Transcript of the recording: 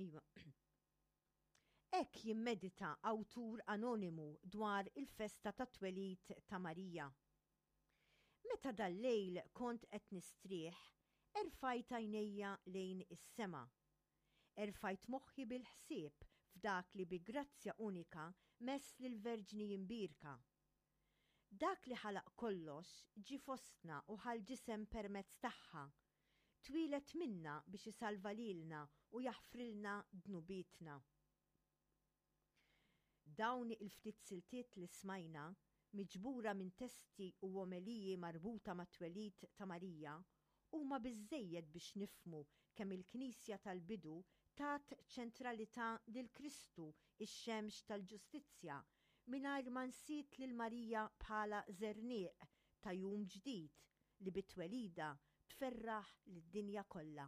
Iva. Hekk jimmedita awtur anonimu dwar il-festa tat-twelid ta' Marija. Meta dal-lejl kont qed nistrieħ, erfajt għajnejja lejn is-sema. Erfajt moħħi bil-ħsieb f'dak li bi grazzja unika mess lill-Verġni Imbierka. Dak li ħalaq kollox ġie fostna u ħa l-ġisem permezz tagħha. Twieled minna biex isalva lilna u jaħfrilna dnubietna. Dawn il-ftit siltiet li smajna, miġbura minn testi u omeliji marbuta mat-twelid ta' Marija, huma biżżejjed biex nifhmu kemm il-Knisja tal-bidu tat ċentralità lil Kristu x-xemx tal-ġustizzja mingħajr ma nsiet lil Marija bħala żerniq ta' jum ġdid li bi twelidha tferraħ lid-dinja kollha.